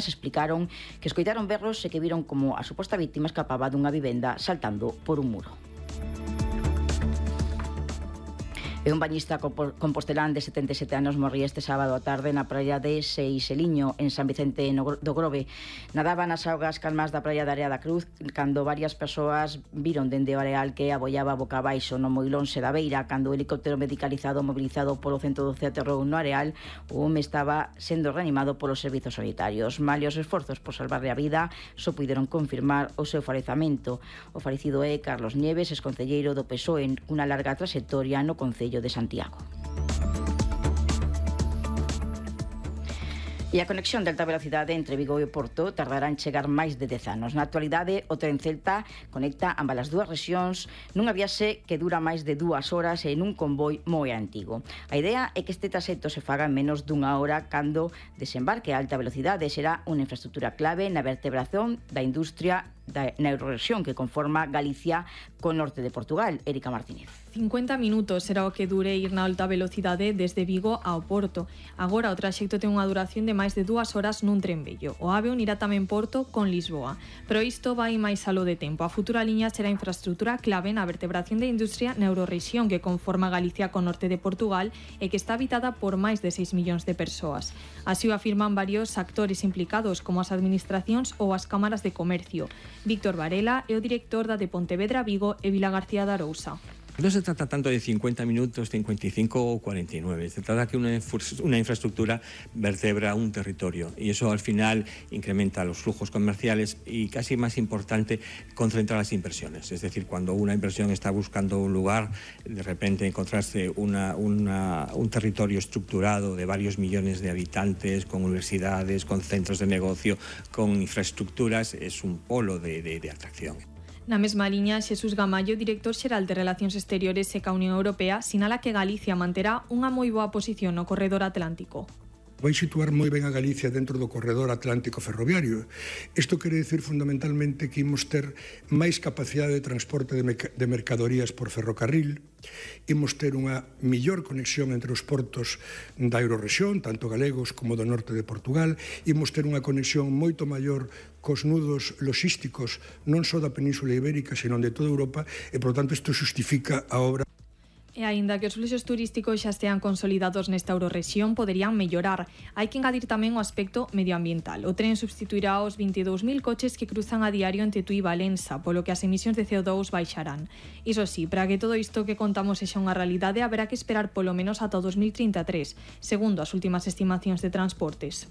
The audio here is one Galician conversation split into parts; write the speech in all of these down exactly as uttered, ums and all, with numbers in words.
Se explicaron que escoitaron berros e que viron como a suposta víctima escapaba dunha vivenda saltando por un muro. E un bañista compostelán de setenta e sete anos morría este sábado á tarde na praia de Seixeliño, en San Vicente do Grove. Nadaba nas augas calmas da praia da Área da Cruz cando varias persoas viron dende o areal que abollaba boca abaixo no Moilonse da Beira. Cando o helicóptero medicalizado mobilizado polo ciento doce aterrou no areal, o home estaba sendo reanimado polos servizos sanitarios. Malios esforzos por salvarle a vida, só puideron confirmar o seu falecamento. O falecido é Carlos Nieves, exconcelleiro do P S O E, cunha larga trayectoria no Concello de Santiago. E a conexión de alta velocidade entre Vigo e Porto tardará en chegar máis de dez anos. Na actualidade, o tren Celta conecta ambas as dúas rexións nunha viaxe que dura máis de dúas horas e nun convoi moi antigo. A idea é que este traxecto se faga en menos dunha hora cando desembarque a alta velocidade. Será unha infraestructura clave na vertebración da industria da eurorrexión que conforma Galicia co norte de Portugal. Erika Martínez. cincuenta minutos será o que dure ir na alta velocidade desde Vigo ao Porto. Agora o traxecto ten unha duración de máis de dúas horas nun tren vello. O AVE unirá tamén Porto con Lisboa. Pero isto vai máis aló de tempo. A futura liña será infraestructura clave na vertebración da industria na eurorrexión que conforma Galicia co norte de Portugal e que está habitada por máis de seis millóns de persoas. Así o afirman varios actores implicados como as administracións ou as cámaras de comercio. Víctor Varela é o director da de Pontevedra, Vigo e Vila García de Arousa. No se trata tanto de cincuenta minutos, cincuenta y cinco o cuarenta y nueve. Se trata que una, una infraestructura vertebra un territorio y eso al final incrementa los flujos comerciales y, casi más importante, concentra las inversiones. Es decir, cuando una inversión está buscando un lugar, de repente encontrarse una, una, un territorio estructurado de varios millones de habitantes, con universidades, con centros de negocio, con infraestructuras, es un polo de, de, de atracción. Na mesma liña, Xesús Gamallo, director xeral de Relacións Exteriores e ca Unión Europea, sinala que Galicia manterá unha moi boa posición no corredor atlántico. Vai situar moi ben a Galicia dentro do corredor atlántico ferroviario. Isto quere dicir fundamentalmente que imos ter máis capacidade de transporte de, de mercadorías por ferrocarril, imos ter unha millor conexión entre os portos da eurorrexión, tanto galegos como do norte de Portugal, imos ter unha conexión moito maior cos nudos logísticos non só da Península Ibérica, senón de toda Europa, e, por tanto, isto xustifica a obra. E aínda que os fluxos turísticos xa estean consolidados nesta eurorrexión, poderían mellorar. Hai que engadir tamén o aspecto medioambiental. O tren substituirá os vinte e dous mil coches que cruzan a diario entre Tui e Valença, polo que as emisións de C O dous baixarán. Iso sí, para que todo isto que contamos sexa unha realidade, haberá que esperar polo menos ata o dos mil trinta e tres, segundo as últimas estimacións de transportes.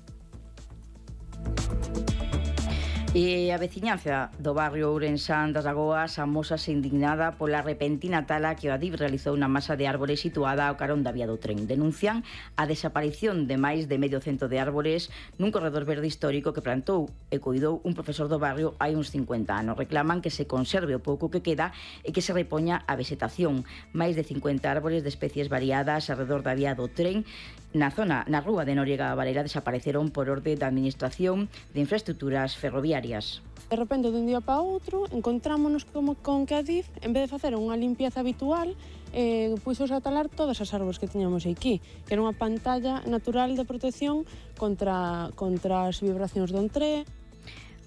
E a veciñanza do barrio ourensán das Lagoas amósase indignada pola repentina tala que o Adif realizou na masa de árbores situada ao carón da vía do tren. Denuncian a desaparición de máis de medio cento de árbores nun corredor verde histórico que plantou e cuidou un profesor do barrio hai uns cincuenta anos. Reclaman que se conserve o pouco que queda e que se repoña a vegetación. Máis de cincuenta árbores de especies variadas alrededor da vía do tren na zona, na rúa de Noriega Varela, desapareceron por orde da Administración de Infraestructuras Ferroviarias. De repente, dun día para outro, encontrámonos como con que Adif, en vez de facer unha limpieza habitual, eh, puxos a talar todas as árbores que tiñamos aquí, que era unha pantalla natural de protección contra, contra as vibracións do entré.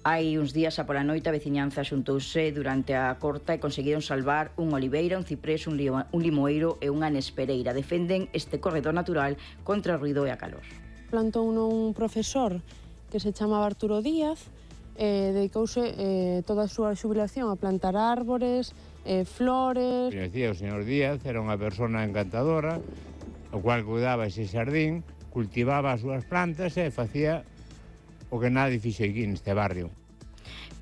Hai uns días a pola noite a veciñanza xuntouse durante a corta e conseguiron salvar un oliveira, un ciprés, un, limo, un limoeiro e unha nespereira. Defenden este corredor natural contra o ruido e a calor. Plantou un profesor que se chamaba Arturo Díaz, eh, dedicouse eh, toda a súa xubilación a plantar árbores, eh, flores. Decía o señor Díaz, era unha persona encantadora, o cual cuidaba ese xardín, cultivaba as súas plantas e facía o que nadie fixo aquí neste barrio.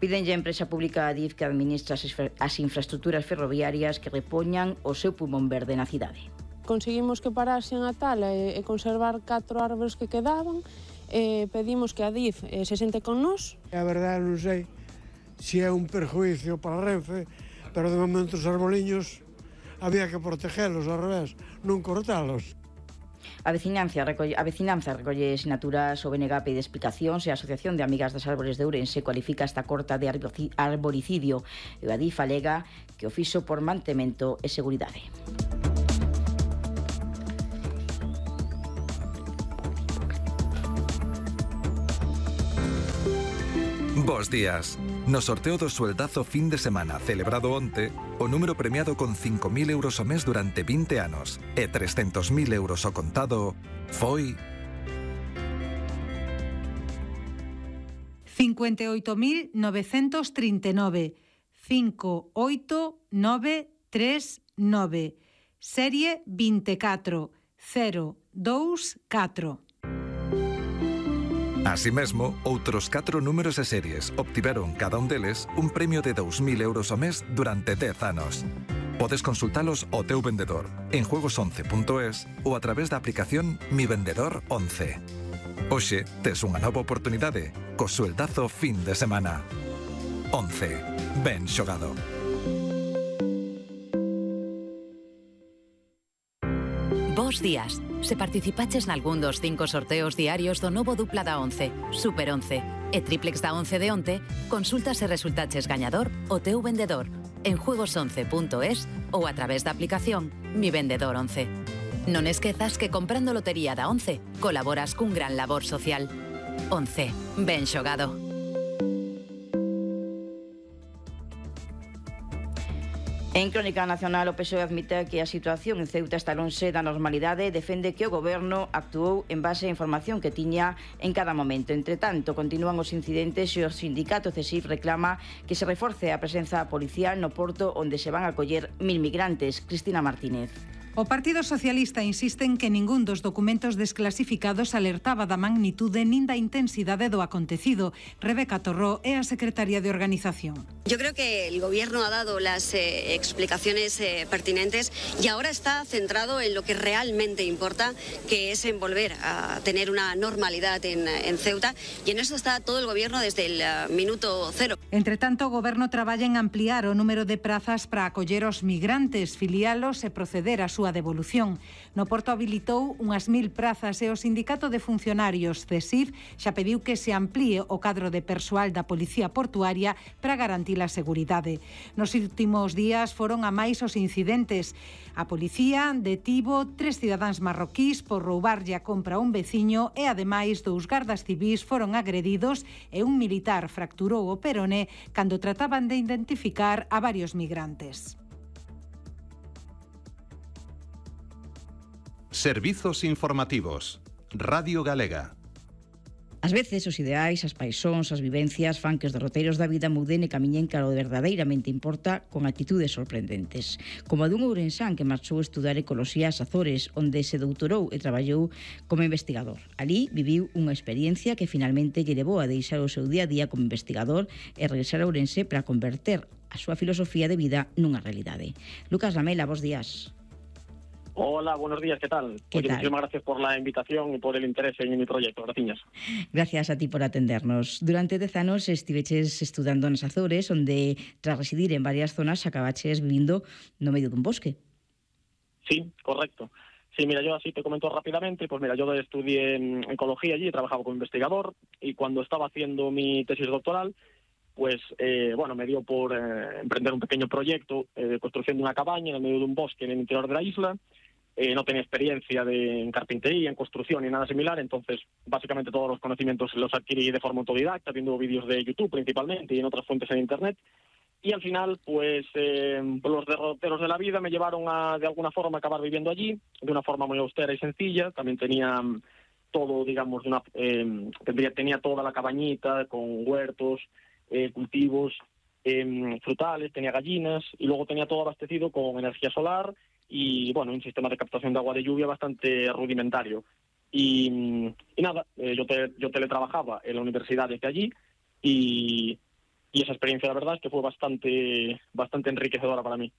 Pídenlle a empresa pública Adif que administra as infraestructuras ferroviarias que repoñan o seu pulmón verde na cidade. Conseguimos que parasen a tala e, e conservar catro árbores que quedaban, e pedimos que Adif eh, se sente con nós. A verdade non sei se é un perjuicio para Renfe, pero de momento os arboliños había que protegelos, ao revés, non cortalos. A veciñanza recolle, a vecinanza recolle sinaturas o B N G pide explicacións e a Asociación de Amigas das Árbores de Ourense cualifica esta corta de arboricidio e o Adif alega que o fixo por mantemento e seguridade. Bos días. No sorteo do sueldazo fin de semana celebrado onte, o número premiado con cinco mil euros ao mes durante vinte anos e trescentos mil euros ao contado foi... cincuenta e oito mil novecentos trinta e nove, cinco oito nove tres nove, serie veinticuatro cero dous catro. Así mesmo, outros catro números e series obtiveron cada un deles un premio de dous mil euros ao mes durante dez anos. Podes consultalos ao teu vendedor en juegos once punto es ou a través da aplicación Mi Vendedor once. Hoxe tes unha nova oportunidade co sueldazo fin de semana. once. Ben xogado. Bos días. Se participaches nalgún dos cinco sorteos diarios do novo dupla da once, Super once e triplex da once de onte, consulta se resultaches gañador o teu vendedor en juegos once punto es ou a través da aplicación Mi Vendedor once. Non esquezas que comprando lotería da once colaboras cun gran labor social. once. Ben xogado. En Crónica Nacional, o P S O E admite que a situación en Ceuta está lonxe da normalidade e defende que o Goberno actuou en base á información que tiña en cada momento. Entre tanto, continúan os incidentes e o sindicato C E S I F reclama que se reforce a presenza policial no porto onde se van a acoller mil migrantes. Cristina Martínez. O Partido Socialista insiste en que ningún dos documentos desclasificados alertaba da magnitude nin da intensidade do acontecido. Rebeca Torró é a secretaria de Organización. Yo creo que el Gobierno ha dado las eh, explicaciones eh, pertinentes y ahora está centrado en lo que realmente importa, que es en volver a tener una normalidad en, en Ceuta, y en eso está todo el Gobierno desde el uh, minuto cero. Entre tanto, o Goberno traballa en ampliar o número de prazas para acoller os migrantes, filialos e proceder a súa devolución. No Porto habilitou unhas mil prazas e o Sindicato de Funcionarios C E S I F xa pediu que se amplíe o cadro de persoal da Policía Portuaria para garantir a seguridade. Nos últimos días foron a máis os incidentes. A policía detivo tres cidadáns marroquís por roubarlle a compra a un veciño e, ademais, dous gardas civís foron agredidos e un militar fracturou o peroné cando trataban de identificar a varios migrantes. Servizos informativos. Radio Galega. Ás veces os ideais, as paixóns, as vivencias fan que os derroteiros da vida muden e camiñen cara o que verdadeiramente importa con actitudes sorprendentes. Como a dun ourensán que marchou a estudar ecoloxía ás Azores, onde se doutorou e traballou como investigador. Alí viviu unha experiencia que finalmente lle levou a deixar o seu día a día como investigador e regresar a Ourense para converter a súa filosofía de vida nunha realidade. Lucas Lamela, bos días. Hola, buenos días, ¿qué tal? ¿Qué Oye, tal? Muchísimas gracias por la invitación y por el interés en mi proyecto. Gracias. Gracias a ti por atendernos. Durante dez anos estiveches estudando nas Azores, onde, tras residir en varias zonas, acabaches vivindo no medio dun bosque. Sí, correcto. Sí, mira, yo así te comento rápidamente. Pues mira, yo estudié en ecología allí, trabajaba como investigador, y cuando estaba haciendo mi tesis doctoral, pues, eh, bueno, me dio por eh, emprender un pequeño proyecto eh, de construcción de una cabaña en el medio de un bosque en el interior de la isla. Eh, no tenía experiencia de, en carpintería, en construcción ni nada similar, entonces básicamente todos los conocimientos los adquirí de forma autodidacta, viendo vídeos de YouTube principalmente y en otras fuentes en Internet. Y al final, pues eh, los derroteros de la vida me llevaron a, de alguna forma, acabar viviendo allí, de una forma muy austera y sencilla. También tenía todo, digamos, de una, eh, tendría, tenía toda la cabañita con huertos, eh, cultivos eh, frutales, tenía gallinas y luego tenía todo abastecido con energía solar y, bueno, un sistema de captación de agua de lluvia bastante rudimentario. Y, y nada, eh, yo, te, yo teletrabajaba en la universidad desde allí y, y esa experiencia, la verdad, es que fue bastante bastante enriquecedora para mí.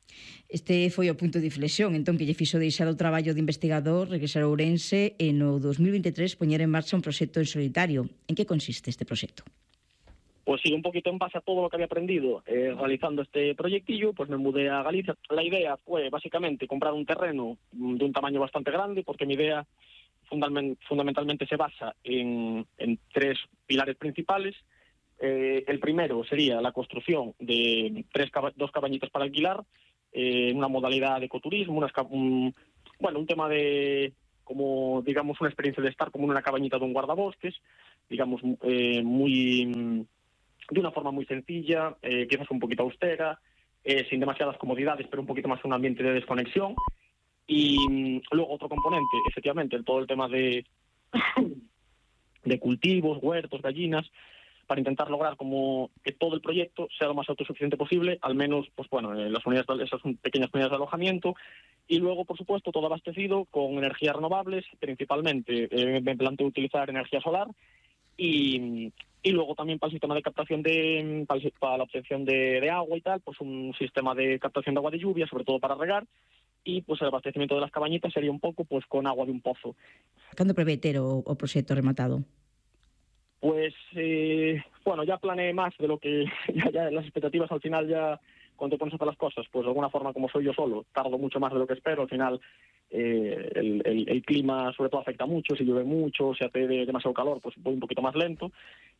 Este foi o punto de inflexión, entón, que lle fixo deixar o traballo de investigador, regresar a Ourense e no dos mil veintitrés poñer en marcha un proxecto en solitario. En que consiste este proxecto? Pues sí, un poquito en base a todo lo que había aprendido eh, realizando este proyectillo, pues me mudé a Galicia. La idea fue básicamente comprar un terreno de un tamaño bastante grande, porque mi idea fundament- fundamentalmente se basa en, en tres pilares principales. Eh, el primero sería la construcción de tres caba- dos cabañitas para alquilar, eh, una modalidad de ecoturismo, unas ca- un, bueno, un tema de, como digamos, una experiencia de estar como en una cabañita de un guardabosques, digamos, eh, muy... de una forma muy sencilla, eh, quizás un poquito austera, eh, sin demasiadas comodidades, pero un poquito más un ambiente de desconexión. Y mm, luego otro componente, efectivamente, todo el tema de, de cultivos, huertos, gallinas, para intentar lograr como que todo el proyecto sea lo más autosuficiente posible, al menos, pues bueno, eh, las unidades, de, esas pequeñas unidades de alojamiento, y luego, por supuesto, todo abastecido con energías renovables, principalmente eh, me planteo utilizar energía solar, y, y luego también para el sistema de captación de, para, el, para la obtención de, de agua y tal, pues un sistema de captación de agua de lluvia, sobre todo para regar, y pues el abastecimiento de las cabañitas sería un pouco pues con agua de un pozo. Cando prevé ter o, o proxecto rematado? Pues, eh, bueno, ya planeé más de lo que, ya, ya las expectativas al final ya, cuando te pones a hacer las cosas, pues de alguna forma como soy yo solo, tardo mucho más de lo que espero, al final eh, el, el, el clima sobre todo afecta mucho, si llueve mucho, si hace de, demasiado calor, pues voy un poquito más lento,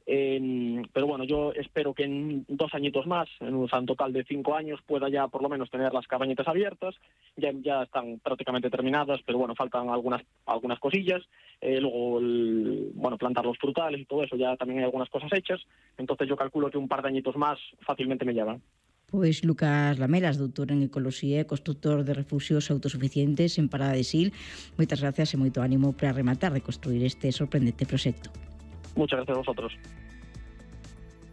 eh, pero bueno, yo espero que en dos añitos más, en un, en total de cinco años, pueda ya por lo menos tener las cabañitas abiertas, ya, ya están prácticamente terminadas, pero bueno, faltan algunas, algunas cosillas, eh, luego el, bueno, plantar los frutales y todo eso, ya también hay algunas cosas hechas, entonces yo calculo que un par de añitos más fácilmente me llevan. Pois Lucas Lamelas, doutor en Ecoloxía e constructor de refuxios autosuficientes en Parada de Sil. Moitas gracias e moito ánimo para rematar de construir este sorprendente proxecto. Muchas gracias a vosotros.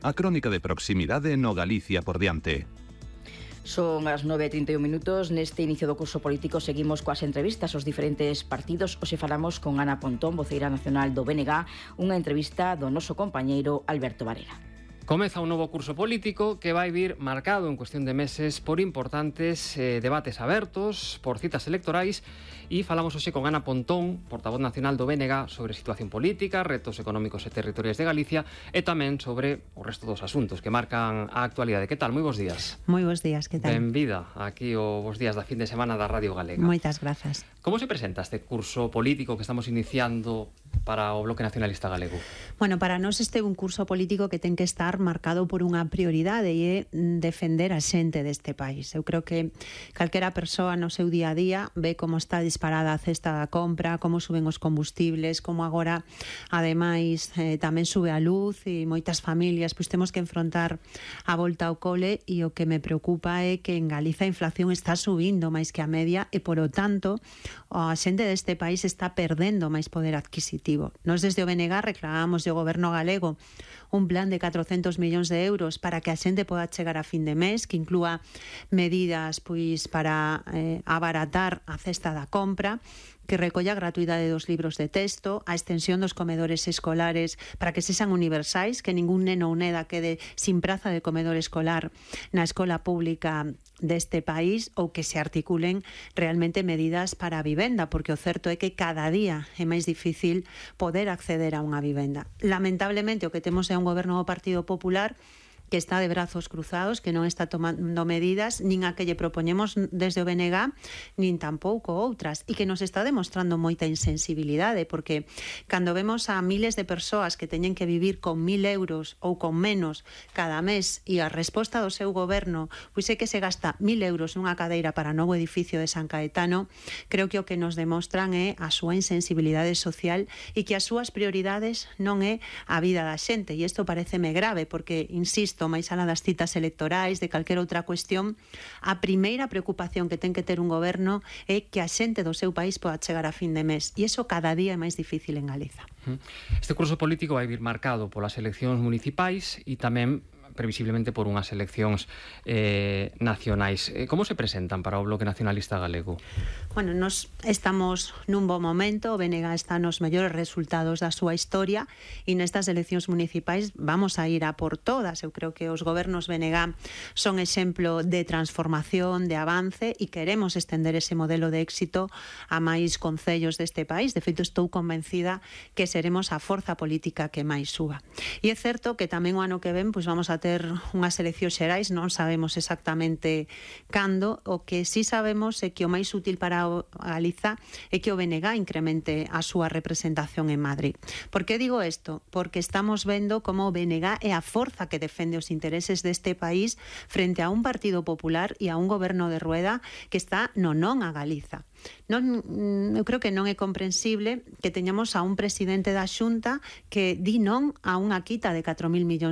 A crónica de proximidade no Galicia por diante. Son as nove e trinta e un minutos. Neste inicio do curso político seguimos coas entrevistas aos diferentes partidos. Hoxe falamos con Ana Pontón, voceira nacional do B N G, unha entrevista do noso compañeiro Alberto Varela. Comeza un novo curso político que vai vir marcado en cuestión de meses por importantes eh, debates abertos, por citas electorais, e falamos hoxe con Ana Pontón, portavoz nacional do B N G, sobre situación política, retos económicos e territoriais de Galicia e tamén sobre o resto dos asuntos que marcan a actualidade. Que tal? Moi bons días. Moi bons días, que tal? Benvida aquí o bons días da fin de semana da Radio Galega. Moitas grazas. Como se presenta este curso político que estamos iniciando para o Bloque Nacionalista Galego? Bueno, para nós este é un curso político que ten que estar marcado por unha prioridade e é defender a xente deste país. Eu creo que calquera persoa no seu día a día ve como está disparada a cesta da compra, como suben os combustibles, como agora ademais eh, tamén sube a luz e moitas familias pois temos que enfrontar a volta ao cole, e o que me preocupa é que en Galiza a inflación está subindo máis que a media e, polo tanto, a xente deste país está perdendo máis poder adquisitivo. Nos desde o B N G reclamamos ao goberno galego un plan de catrocentos millóns de euros para que a xente poda chegar a fin de mes, que inclúa medidas pois para eh, abaratar a cesta da compra, que recolla a gratuidade dos libros de texto, a extensión dos comedores escolares para que sexan universais, que ningún neno ou neda quede sin praza de comedor escolar na escola pública deste país, ou que se articulen realmente medidas para a vivenda, porque o certo é que cada día é máis difícil poder acceder a unha vivenda. Lamentablemente o que temos é un goberno do Partido Popular que está de brazos cruzados, que non está tomando medidas, nin a que lle propoñemos desde o B N G, nin tampouco outras, e que nos está demostrando moita insensibilidade, porque cando vemos a miles de persoas que teñen que vivir con mil euros ou con menos cada mes, e a resposta do seu goberno pois é que se gasta mil euros nunha cadeira para o novo edificio de San Caetano, creo que o que nos demostran é a súa insensibilidade social e que as súas prioridades non é a vida da xente, e isto pareceme grave, porque, insisto, máis alá das citas electorais, de calquera outra cuestión, a primeira preocupación que ten que ter un goberno é que a xente do seu país poda chegar a fin de mes, e iso cada día é máis difícil en Galiza. Este curso político vai vir marcado polas eleccións municipais e tamén previsiblemente por unhas eleccións eh, nacionais. Como se presentan para o Bloque Nacionalista Galego? Bueno, nos estamos nun bo momento, o B N G está nos mellores resultados da súa historia, e nestas eleccións municipais vamos a ir a por todas. Eu creo que os gobernos B N G son exemplo de transformación, de avance, e queremos estender ese modelo de éxito a máis concellos deste país. De feito, estou convencida que seremos a forza política que máis suba. E é certo que tamén o ano que ven pois vamos a ter unhas eleccións xerais, non sabemos exactamente cando. O que sí sabemos é que o máis útil para a Galiza é que o B N G incremente a súa representación en Madrid. Por que digo isto? Porque estamos vendo como o B N G é a forza que defende os intereses deste país frente a un Partido Popular e a un goberno de Rueda que está no non a Galiza. Non, eu creo que non é comprensible que teñamos a un presidente da Xunta que di non a unha quita de catro mil millóns